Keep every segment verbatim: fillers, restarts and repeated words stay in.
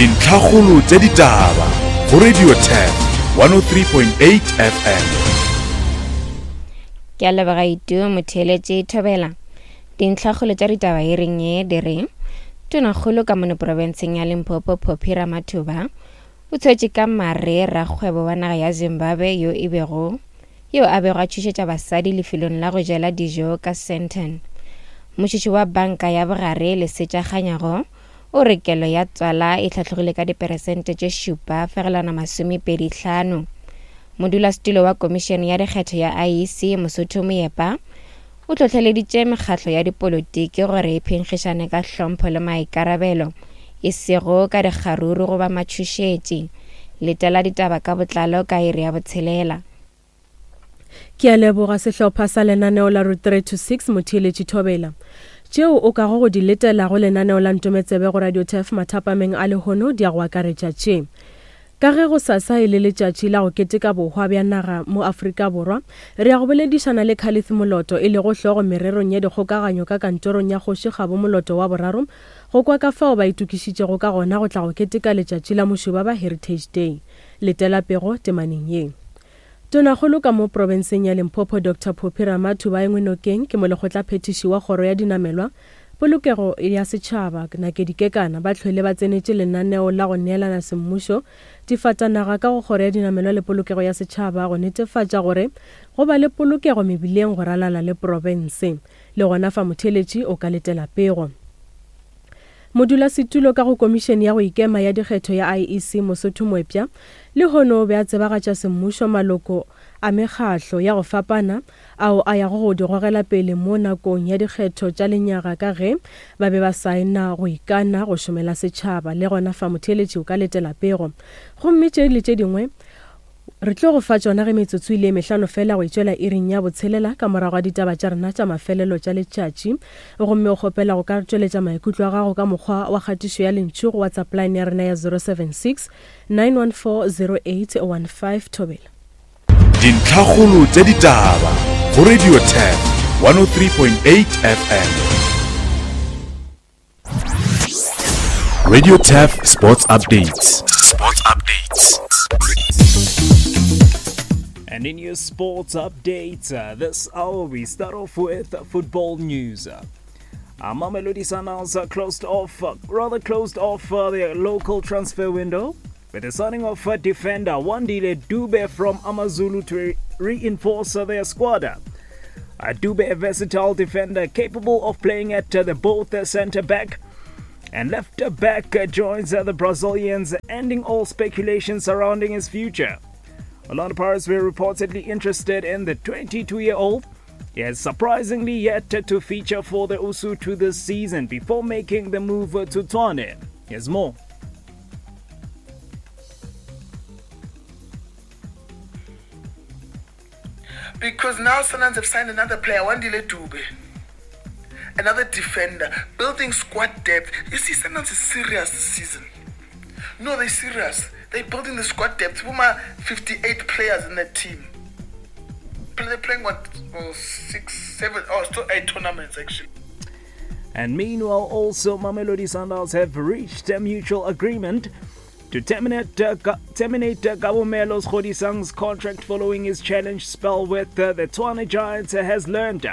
Dintlhakgolo tša ditaba go Radio Turf one oh three point eight F M. Ke a leboga Itu motheeletši Thobela. Dintlhakgolo tša ditaba e reng ye di re Tonakgolo ka mono profenseng ya Limpopo Phophi Ramathuba o tshwetše ka mare rakgwebo wa naga ya Zimbabwe yo e bego yo a bego a tšhošetša basadi lefelong la go jela dijo ka Sandton. Motšhitšhi wa banka ya bogare Lesetša Kganyago o re kelo ya tswala e hlatlogile ka diperesente tše šupa fegelwana masomepedi hlano. Modulasetulo wa komišene ya dikgetho ya I E C Mosotho Moepa o hlohleleditše mekgatlo ya dipolotiki gore e phenkgišane ka hlompho le maikarabelo e sego ka dikgaruru goba matšhošetši. Letela ditaba ka botlalo ka iri ya botshelela. Ke a leboga sehlopha sa lenaneo la Route three to six motheeletši Thobela. Tšeo o kago go di letela go lenaneo la Ntometsebe go Radio Turf mathapameng a lehono di a go akaretša tše. Ka ge go sasa e le letšatši la go keteka bohwa bja naga mo Afrika Borwa, re ya go boledišana le Khalif Moloto e lego hlogo mererong ya dikgokaganyo ka kantorong ya Kgoši Kgabo Moloto wa boraro go kwa ka fao ba itokišitšego ka gona go tla go keteka letšatši la Mošobaba Heritage Day. Letela pego temaneng ye. Tonakgolo ka mo profenseng ya Limpopo Doctor Phophi Ramathuba engwe nokeng ke molekgotlaphethiši wa kgoro ya dinamelwa polokego ya setšhaba Nakedi Kekana ba hlwele ba tsenetše lenaneo la go neelana semmušo difatanaga ka go kgoro ya dinamelwa le polokego ya setšhaba go netefatša gore go ba le polokego mebileng go ralala le profense. Le gona fa motheeletši o ka letela pego. Modulasetulo ka go komišene ya go ikema ya dikgetho ya I E C Mosotho Moepša lehono o be a tsebagatša semmušo maloko a mekgahlo ya go fapana ao a yago go di gogela pele mo nakong ya dikgetho tša lenyaga ka ge ba be ba saena go ikana go šomela setšhaba. Le gona fa motheeletši o ka letela pego. Gomme tše le tše dingwe re tlo go fa tšona ge metsotso ile mehlano fela go itšwela iring ya botshelela ka morago ga ditaba tša rena tša mafelelo tša letšatši. Gomme o kgopela go ka tšweletša maikutlo a gago ka mokgwa wa kgatišo ya lentšu go WhatsApp line ya rena ya zero seven six nine one four zero eight one five. Thobela. Dintlhakgolo tša ditaba go Radio Turf one oh three point eight F M. Radio Turf Sports Updates. Sports Updates. And in your sports updates, uh, this hour we start off with football news. Uh, Mamelodi Sundowns uh, closed off, uh, rather closed off uh, their local transfer window with the signing of uh, defender Wandile Dube from AmaZulu to re- reinforce uh, their squad. Uh, Dube, a versatile defender capable of playing at uh, the both uh, centre back and left back, uh, joins uh, the Brazilians, ending all speculation surrounding his future. Orlando Pirates were reportedly interested in the twenty-two-year-old. He has surprisingly yet to feature for the Usuthu this season before making the move to Tshwane. Here's more. Because now Sundowns have signed another player, Wandile Dube, another defender, building squad depth. You see, Sundowns is serious this season. No, they're serious. They're building the squad depth. Puma, fifty-eight players in that team. They're playing what, oh, six, seven, oh, still eight tournaments actually. And meanwhile, also Mamelodi Sundowns have reached a mutual agreement to terminate, uh, terminate uh, Kabumelo Kgodisang's contract following his challenge spell with uh, the Tshwane Giants, uh, has learned.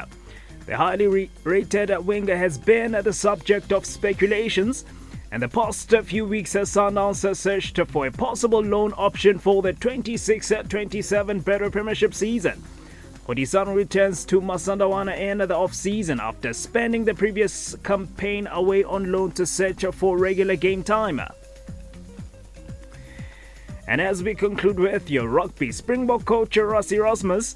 The highly re- rated winger has been the subject of speculations, and the past few weeks has Sundowns searched for a possible loan option for the twenty-six twenty-seven Betway Premiership season. Kgodisang returns to Masandawana in the off-season after spending the previous campaign away on loan to search for regular game time. And as we conclude with your rugby, Springbok coach Rassie Erasmus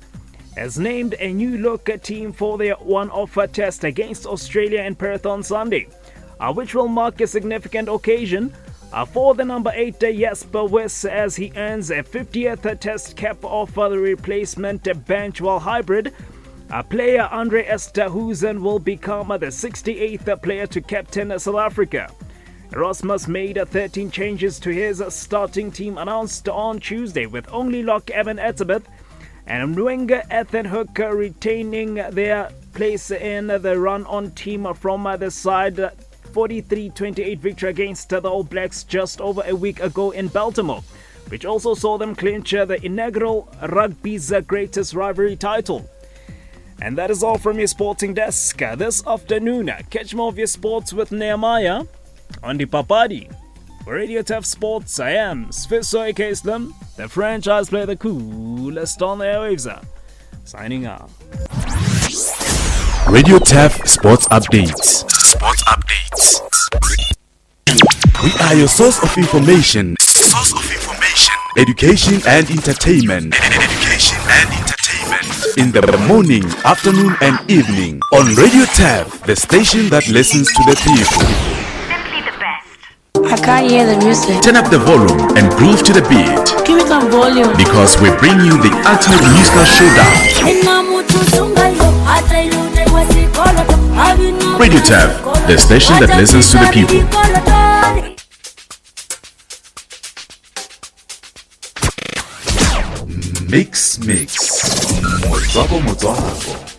has named a new look team for their one-off test against Australia in Perth on Sunday, uh, which will mark a significant occasion uh, for the number eight Jasper Wiss as he earns a fiftieth test cap off the replacement bench, while hybrid uh, player Andre Esterhuizen will become the sixty-eighth player to captain South Africa. Erasmus made thirteen changes to his starting team announced on Tuesday, with only lock Evan Etzebeth and Mwenga Ethan Hooker retaining their place in the run-on team from the side forty-three twenty-eight victory against the All Blacks just over a week ago in Baltimore, which also saw them clinch the inaugural Rugby's Greatest Rivalry title. And that is all from your sporting desk this afternoon. Catch more of your sports with Nehemiah on the Papadi. For Radio Turf Sports, I am Sfiso A K Slim, the franchise player, the coolest on the airwaves. Signing off. Radio Turf Sports Updates. Sports Updates. We are your source of information. Source of information. Education and entertainment. Education and entertainment. In the morning, afternoon, and evening on Radio Turf, the station that listens to the people. Simply the best. I can't hear the music. Turn up the volume and groove to the beat Give me some volume. Because we bring you the ultimate musical showdown. Radio Turf, the station that listens to the people. Mix, mix. Motswako, motswako.